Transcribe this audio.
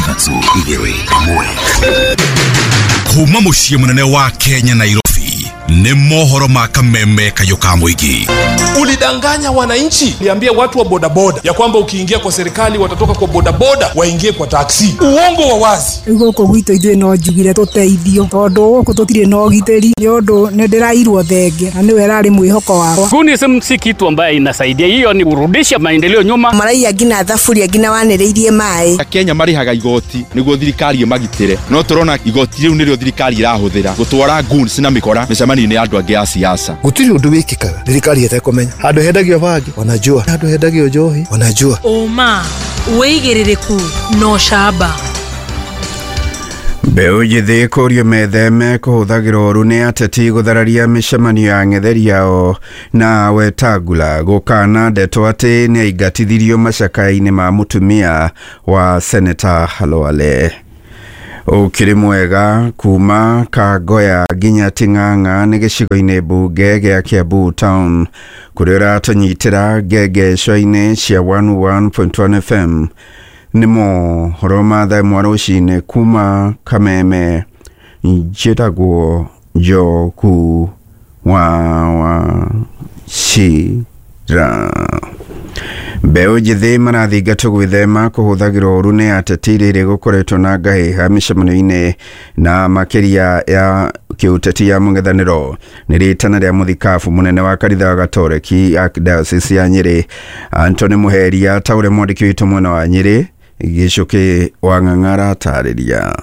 3 2 1. Kuma mũciĩ mũnene wa Kenya, Nairobi, nĩ mohoro ma kameme kayũ ka mũingĩ. Ulidanganya wananchi, uliambia watu wa bodaboda ya kwamba ukiingia kwa serikali watatoka kwa bodaboda waingie kwa taksi. Uongo wa wazi. Rĩu gũkũ gwitũ ithuĩ no njugire tũteithio, tondũ gũkũ tũtirĩ na ũgitĩri, nĩ ũndũ nĩ ndĩrairwo thenge na nĩwe ĩrarĩ mwĩhoko wakwa. Gunism si kitu ambaye inasaidia, hiyo ni kurudisha maendeleo nyuma. Maraiya nginya thaburia nginya wanĩrĩirie maĩ. Akenya marĩhaga igoti nĩguo thirikari ĩmagitĩre, no tũrona igoti rĩu nĩrĩo thirikari ĩrahũthĩra gũtwara goons na mĩkora mĩcemanio-inĩ ya andũ angĩ a siasa. Gũtirĩ ũndũ wĩkĩkaga thirikari ĩtekũmenya. Handũ hendagio bangi wanajua, handũ hendagio njohi wanajua. Ũma, wĩigĩrĩrĩku na ũcamba. Mbeũ njĩthĩ kũrio metheme kũhũthagĩra ũru nĩ ateti gũthararia mĩcemanio ya ng'etheri yao, na Wetangula gũkana ndeto atĩ nĩ aingatithirio macakaya-inĩ ma mũtumia wa Seneta Khalwale. Ũkĩrĩ mwega kuma Kangoya nginya Ting'ang'a nĩ gĩcigo-inĩ mbunge gĩa Kiambu Town, kũrĩa ũratũnyitĩra ngengesho-inĩ cia 101.1 FM. Nĩ mohoro ma thaa ĩmwe rũcinĩ kuma Kameme. Njĩtagwo Njoku wa Wachira. Mbeũ njĩthĩ marathingatwo gwĩthema kũhũthagĩra ũru nĩ ateti rĩrĩ gũkoretwo na ngahĩha mĩcemanio-inĩ na makĩria ya kĩũteti ya mũng'ethanĩro. Nĩ rĩtana rĩa mũthikabu mũnene wa kanitha wa Gatoreki Archdiocese ya Nyĩrĩ, Anthony Muheria, ta ũrĩa mwandĩki witũ mwena wa Nyĩrĩ Gĩcũkĩ wa Ng'ang'a aratarĩria.